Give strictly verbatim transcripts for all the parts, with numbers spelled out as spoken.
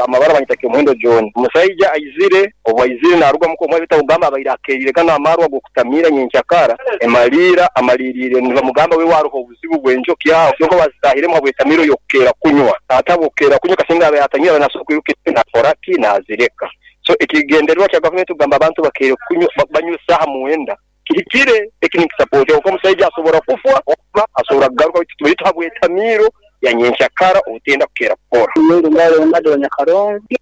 Amabara banyita Muhindo John. Omusaija aizire obu aizire naruga muko omwe bitagamba abaire akeerire gano amarwa g'okutamira nyenkyakara emaliira amalirire nibamugamba we waruho obuzibu bw'enjoki aho kyonka bazitahiremu habw'etamiro y'okukeera kunywa atabo okukeera kunywa kasinga abe atanyira nasobola kwiruka nakoraki nazireka. So ekigendererwa kya gavumenti kugamba abantu bakeere kunywa banywa esaaha mwenda kihikire eki ninkisapootinga kuko omusaija asobora kufwa oba asobora kugaruka baitu habw'etamiro ya nyenkyakara obutenda kukeera kukora.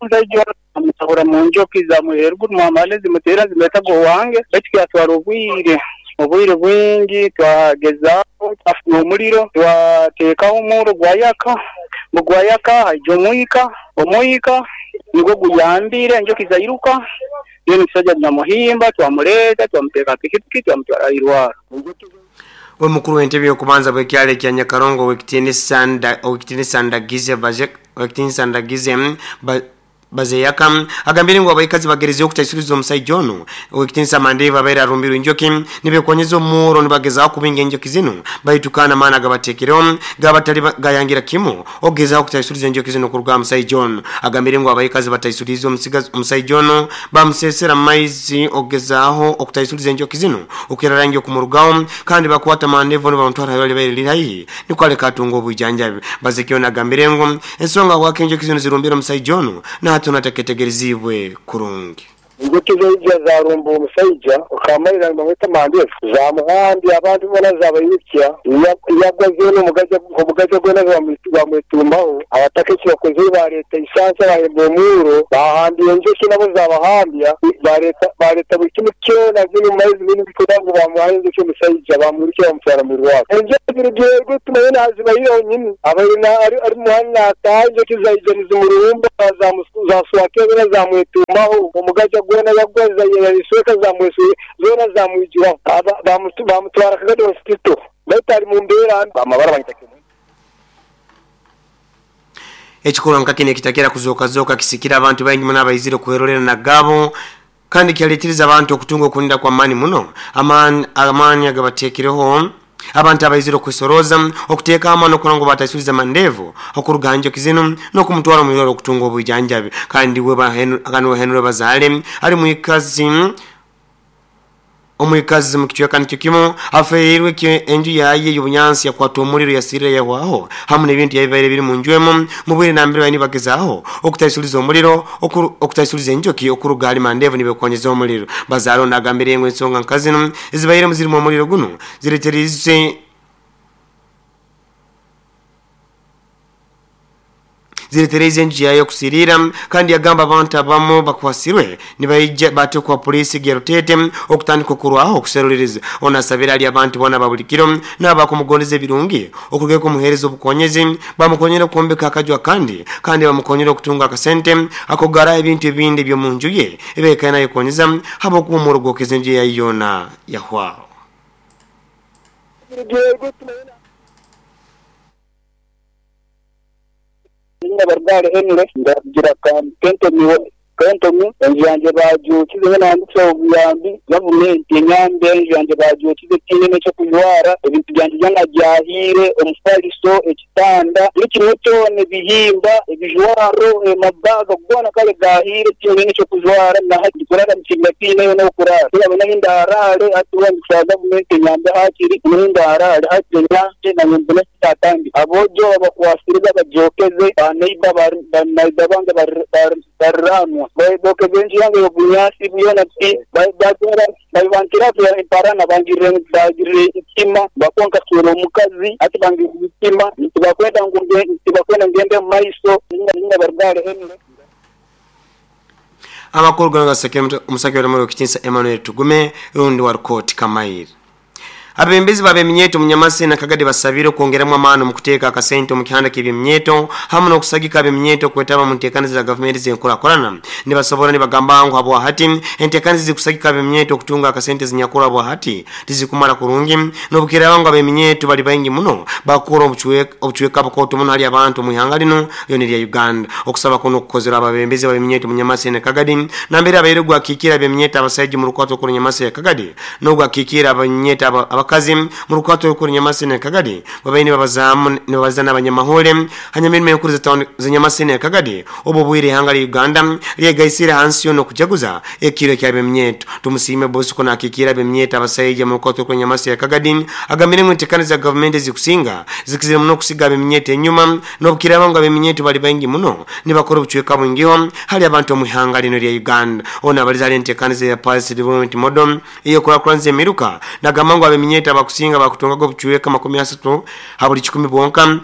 Omusaija amusahura mu njoki zamuheruguru mwamale zimuteera zimwetaga owange baitu kyatwara obwire obwire bwingi twagezaho twafuna omuliro twateekaho omurro gwayaka bugwayaka haija omwika omwika nigwo guyambire enjoki zairuka then omusaija namuhimba twamuleeta twamuteeka ha pikipiki twamutwara airwaro. We mukuru w'entebe y'okubanza bw'ekyalo ekya Nyakarongo Owekitiinisa Ndagize Owekitiinisa Ndagize Bazeyaka agambire ngu abaikazi bagerezeho okutaisuriza omusaija onu Owekitiinisa Mandevu abaire arumbirwe enjoki nibekonyeza omuuro nibagezaho kubinga enjoki zinu baitu kana amaani agabateekireho gabatali gayangira kimu okugezaho okutaisuriza enjoki zinu okuruga aha musaija onu. Agambire ngu abaikazi bataisurize omusaija onu bamusesera maizi okugezaho okutaisuriza enjoki zinu okukira rangi okumurugaho kandi bakwata Mandevu onu bamutwara aho libaire liri haihi nikwo aleka atunga obwijanjabi. Bazekyo agambire ngu ensonga habwaki enjoki zinu zirumbire omusaija onu na tunateketegerezibwe kurungi. Enjoki zaija zarumba omusaija okamalira nibamweta Mandevu zamuhambya abantu boona zabairukya yagwa zoona omugaja gwona bamwetumbaho. Abataka eki bakozire bareeta isansa bahemba omuuro bahambya enjoki nabo zabahambya bareeta buri kimwe kyona ziri omu maizi binu bikugira ngu bamuhayo enjoki omusaija bamwirukya bamutwara mwirwariro. Enjoki zirugire eruguru tumanye nazibaire honyini abaire ari muhanda nataaha enjoki zaija nizimurumba zaswaka zoona zamwetumbaho omugaja gwona yagwa yayesweka zamweswe zoona zamwijuraho bamutwara Kagadi Hospital baitu ari mu mbeera mbi. Amabara banyita ekikorwa nka kino ekitakira kuzooka kisikira abantu baingi muno abaizire okwerorera nagabo kandi kyaleetiriza abantu okutunga okulinda kwa maani muno amaani amaani agabateekireho abantu abaizire okwesoroza okuteeka amaani okubona ngu bataisuriza Mandevu okuruga njoki zinu n'okumutwara omu irwariro okutunga obwijanjabi. Kandi we Henry Bazale ali mwikazi omwikazi mu kicweka nikyo kimu afeerirwe enju yaye y'obunyansi yakwata omuliro yasirira yahwaho hamu n'ebintu yabibaire biri mu nju emu mu bwire nambere baine bagezaho okutaisuliza omuliro okutaisuliza enjoki okuruga hali Mandevu nibekonyeza omuliro. Bazale ono agambire ngu ensonga nka zinu ezibairemu zirimu omuliro guno zireterize ziretereze enju yayo okusirira kandi yagamba abantu abamu bakwasirwe nibaija batekwa polisi Gerutete okutandika okurwaho okuseruliriza. Ono asabira ali abantu bona babulikiro n'abakumugondeza ebirungi okuruga kumuheereza obukonyezi bamukonyera okwombeka akaju akandi kandi bamukonyera okutunga akasente akogara ebintu ebindi ebyomunju ye ebekaina yekonyeza habwokuba omuro gwokeza enju yayo yoona yahwaho. Barugale Henry ndagira kentomi kentomi enju yange bajukize nandikisa obuyambi gavumenti enyambe enju yange bajukize tiine ekyokujwara ebintu byange byona byahire omufaliso ekitanda buri kimwe kyona ebihimba ebijwaro emabaga goona kare gahire tiine ekyokujwara nahati kurara mukibira tiineyo n'okurara tinabona ahi ndarare hati ndikushaba gavumenti enyambe hakiri niho ndarare hati enyambe nanye mbone ekindatandika. Aboojo babakwasire babagyokeze baneiba baneiba bange bariranwa bokeze enju yange y'obunyaasi byona batwara babibankira emparana bangirire bagirire itima bakonka kuswera omukazi hati bangirire itima tibakwenda ngu tibakwenda ngende omu maiso Barugale Henry. Amakuru gano gasekere omusake w'omuro Kitinsa Emmanuel Tugume rundi wa Rukoti Kamairi. Abembezi bab'eminyeeto Munyamasi na Kagadi basabire okwongeramu amaani mu kuteeka akasente omu kihanda ky'ebyeminyeeto hamu n'okusagika ab'eminyeeto okwetaba mu nteekaniza za gavumenti z'enkurakurana. Nibasobora nibagamba ngu habwahati enteekaniza zikusagika ab'eminyeeto okutunga akasente zinyakurwa habwahati tizikumara kurungi n'obukiraaba ngu ab'eminyeeto bali baingi muno bakukora obucweka bukooto muno hali abantu omu ihanga lino lyona erya Uganda. Okusaba kuno okukozerwa ababembezi bab'eminyeeto Munyamasi na Kagadi nambere abaire gwakiikira ab'eminyeeto abasaija mu rukwato okuru Nyamasi ya Kagadi n'ogwakiikira ab'eminyeeto abakazi mu rukwato rukuru Nyamasene Kagadi babaine babazamu nibabaza n'abanyamahore hanyuma enkuru za Nyamasene Kagadi obo bwire hanga lya Uganda lyegaisire hansi yo nokujaguza ekiro kya bemyeto. Tumusime Bosco na kikira bemyeto abasayija mu rukwato rukuru Nyamasene Kagadi agamire mu ntekano za government zikusinga zikizire muno kusiga bemyeto enyuma nobukiraba ngo bemyeto bali bangi muno nibakora obucweka bwingiho hali abantu mu hanga lino lya Uganda. Ona abalizali entekano za Police Development Model iyo kurakuranze emiruka nagamba ngo abeminyeta bakusinga bakutunga obucweka makumi asatu habuli kikumi bwonka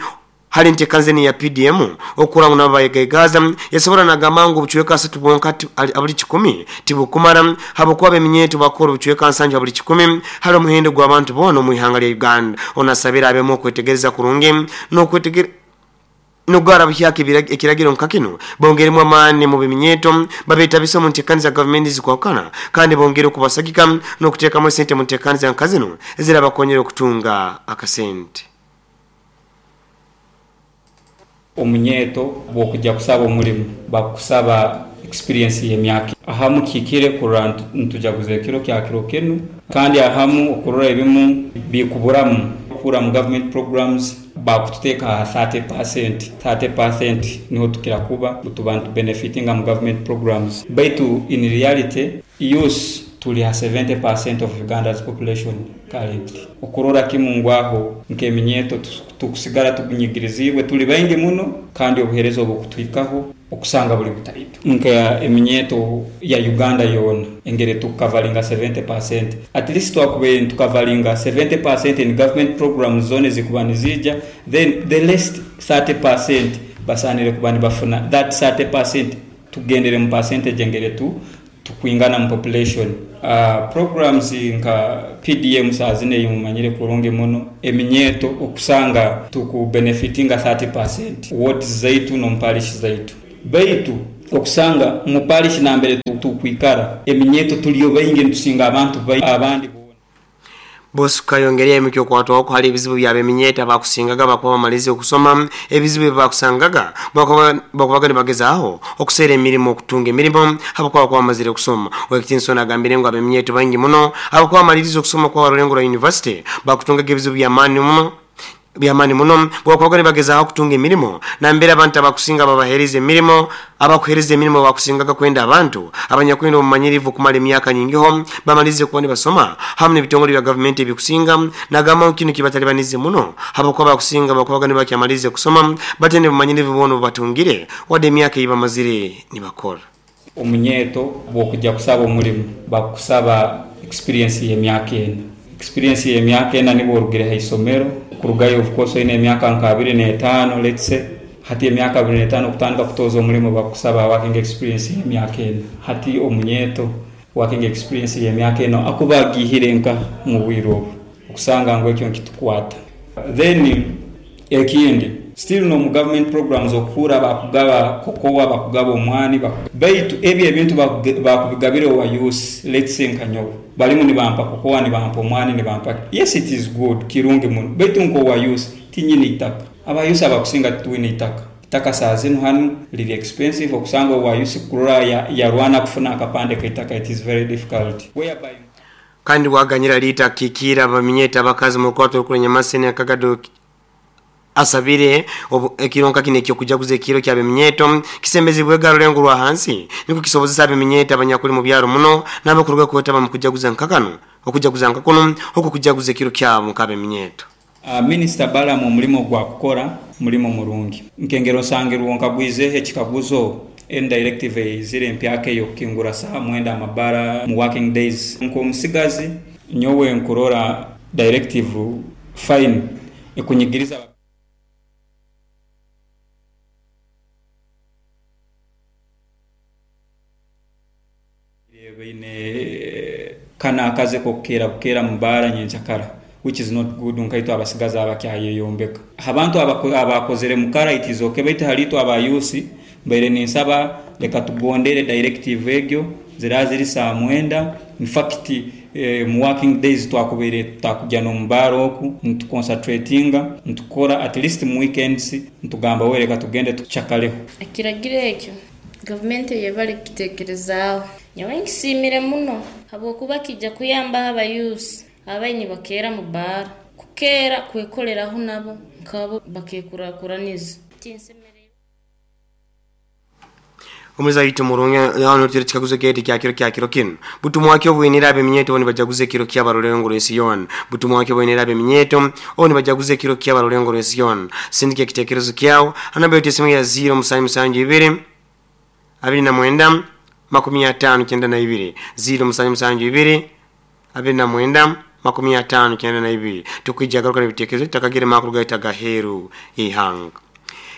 hali ntekanze ni ya P D M okura ngo nabayegaza yasobora nagamba ngo obucweka asatu bwonka habuli kikumi tibukumara habokuba abeminyeta bakora obucweka nsanje habuli kikumi hali omuhendo gw'abantu bona mu ihanga lya Uganda. Onasabira abemo kwetegereza kurungi no kwetegere nugara buhyaka ekiragiro nkakino bongeremo amani mu biminyeto babeta biso mu ntekano za government zikwakana kandi bongere kubasagika no kutekamo sente mu ntekano za nkazino ezirabakonyera okutunga akasente. Omunyeto bwokujja kusaba omulimu bakusaba experience y'emyaka ahamu kikire kurora ntujaguza ekiro kya kiro kinu kandi ahamu okurora ebimu bikuburamu kura mu government programs bakututeeka thirty percent thirty percent niho tukira kuba tubantu benefitinga mu government programs baitu in reality use tuli ha seventy percent of Uganda's population currently. Okurora kimungwaho nkeminyeto tukusigara tukunyigirizibwe tuli baingi muno kandi obuherezo obukutwikaho okusanga buli butaitu nka eminyeto ya Uganda yona engere tukavalinga seventy percent at least twakube tukavalinga seventy percent in government programs zone zikubanizija then the rest thirty percent basanire kubani bafuna that thirty percent tugendere mu percentage engere tu tukwingana mu population. Uh, programs nka P D M saazine yumanyire kurungi muno eminyeto okusanga tuku benefitinga thirty percent what zaitu no mparish zaitu baitu okusanga mu parish nambere tukwikara eminyeto tuliyo bayingi ntusinga abantu abandi. Bosco yongeria emikyo kwatwa ko hali ebizibu bya beminyeta bakusingaga bakuba bamalize okusoma ebizibu bakusangaga bakuba bakubaga nibagezaaho okusera emirimo okutunga emirimo abakuba kwa bamazire okusoma. Wekitinso agambire ngo abeminyeto bangi muno abakuba bamalirize okusoma kwa Rurengo University bakutungaga ebizibu bya mani muno byamani muno bwakubaga nibagezaaho okutunga emirimo nambere abantu abakusinga babahereza emirimo abakuhereza emirimo bakusingaga kwenda abantu abanyakwenda omumanyirivu kumala emyaka nyingiho bamalize kuba nibasoma hamwe n'ebitongole bya government ebikusinga nagamba kino kibatalibanize muno abakuba bakusinga bakubaga nibakyamalize kusoma batende bumanyirivu bono batungire wadde emyaka eyibamazire nibakora. Omunyeto bwokujja kusaba omulimu bakusaba experience y'emyaka ena experience y'emyaka ena nibo orugire ha isomero kurugayo of course ine emyaka nka abiri n'etaano let's say hati emyaka abiri n'etaano kutandika kutoza omulimu bakusaba working experience y'emyaka ena hati omunyeto working experience y'emyaka eno akuba agihire nka mu bwire obu okusanga ngo ekyo nkitukwata. Then ekindi still no mu government programs okura bakugaba kokowa bakugaba omwani baitu ebyo ebintu bakubigabire wa youth let's say nkanyobo balimu nibampa kokowa nibampa omwani nibampa yes it is good kirungi muno baitu nko wa youth tinyini itaka aba youth abakusinga tuwini itaka itaka saazinu hanu lili expensive okusanga wa youth kurora ya, ya rwana kufuna akapande ka itaka it is very difficult whereby kandi waganyira lita kikira baminyeta abakazi mu kwato kuri Nyamasene Akagado asabire ekironka kine kyo kujaguza ekiro kya beminyeto kisembezibwe garulengo rwa hansi niko kisobozesa abeminyeto abanyakuli mu byaro muno n'abakuruga kwetaba mu kujaguza nkakano okujaguza nkakono oko kujaguza ekiro kyabo nkabeminyeto. Uh, Minister Balamu omulimo gwa kukora mulimo murungi nkengero sangirwo nkagwize ekikaguzo en directive izire empyaka eyo kingura saa mwenda amabara mu working days nko musigazi nyowe nkurora directive fine ekunyigiriza bine kana akaze kokera bukera mubara nyenchakara which is not good nkaito abasigaza abakyayeyombeka abantu abakozere mukara it is okay baitu halito abayusi mbere ninsaba leka tugondere directive egyo ziraziri saa mwenda in fact eh, mu working days twakubere takujya no mubaro oku ntuconcentratinga ntukora at least mu weekends ntugamba wereka tugende tuchakaleho ekiragiro ekyo government yebali kitekerezaaho nyowe nkisimire muno habwokuba kijja kuyamba abayusi Abaini bakeera mu baara kukeera kwekoleraho nabo nkabo bakekurakuraniza. Omuza yitu murunge yano tiri chikaguzo keti kya kiro kya kiro kino butumwa wake obwenera abeminyeto oni bajaguze kiro kya barulengo rw'ensi butumwa wake obwenera abeminyeto oni bajaguze kiro kya barulengo rw'ensi sindike kitekerezo kyao anamba yote simu ya zero musanju musanju ibiri abiri na mwenda makumi atano kyenda na ibiri zero musanju musanju ibiri abiri na mwenda makumi atano kyenda na ibiri tukwijja garuka n'ebitekerezo takagire makuru gaita gaheru ihanga.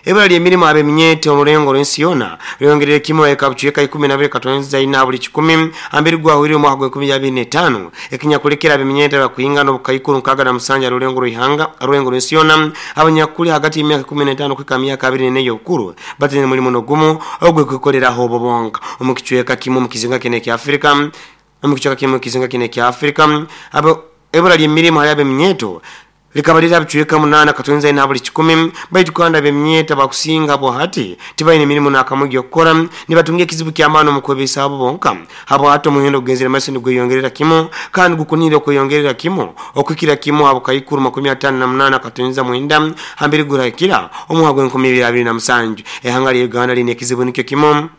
Ebura ly'emirimu abeminyeto omulengo lw'ensi yona lyongerere kimu ekabucweka ikumi na bibiri katonza ina buli kikumi ambiri gwahwire omwaka gw'enkumi abiri n'etaano ekinyakulekera abeminyeto bakuyingana obukaikuru nkaaga na musanja rulengo rw'ihanga rulengo lw'ensi yona abanyakuli hagati y'emyaka ikumi n'etaano kuhika myaka abiri n'ene y'obukuru batine mulimu n'ogumu ogw'ekwekoleraho obubonga omu kicweka kimu omu kizinga kino ekya Afrika omu kicweka kimu omu kizinga kino ekya Afrika abo ebura ly'emirimu hali abeminyeto likabalira bucweka munana katonza ina buli kikumi baitu kandi abemyeta bakusinga bo hati tibaine emirimu nakamugi okukora nibatunga ekizibu ky'amaani omu kwebeisaho abo bonka habo hati omuhendo gugenzere maiso nigweyongerera kimu kandi gukunire okweyongerera kimu okwikira kimu abo kaikuru makumi atano na munana katonza mwenda hambiri gurahikira omwaka gw'enkumi ibiri abiri na musanju. Ehanga lya Uganda line ekizibu nikyo kimu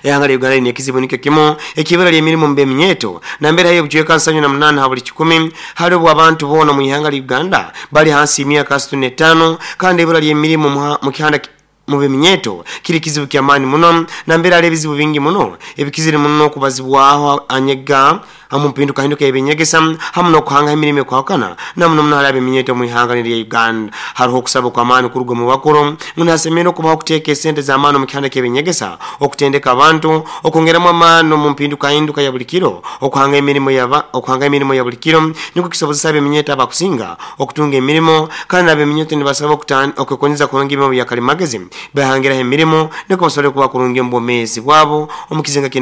ehanga lya Uganda line ekizibu nikyo kimu ekibura ly'emirimu mu beminyeto nambere hayo bucweka nsanju na munana ha buli kikumi hali obwo abantu boona mu ihanga lya Uganda bali hansi y'emyaka asatu n'etaano kandi ibura ly'emirimu mu kihanda mu beminyeto kiri kizibu ky'amaani muno nambere hali ebizibu bingi muno ebikizire muno okubazibwaho anyega hamu mpinduka hinduka ebinyegesa hamu n'okuhanga emirimu ekwahukana namuno muno hali abeminyeto mu ihanga lya Uganda. Hariho okusaba kw'amaani kuruga mu bakuru munasemere okubaho okuteeka esente z'amaani omu kihanda ky'ebinyegesa okutendeka abantu okwongeramu amaani omu mpinduka hinduka ya buli kiro okuhanga emirimu yaba okuhanga emirimu ya buli kiro nikwo kisobozesa abeminyeto abakusinga okutunga emirimu kandi abeminyeto nibasaba okwekonyeza kurungi ebyomu bya kalimagezi bahangiraho emirimu nikwo basobole kuba kurungi omu bwomeezi bwabo omu kizinga.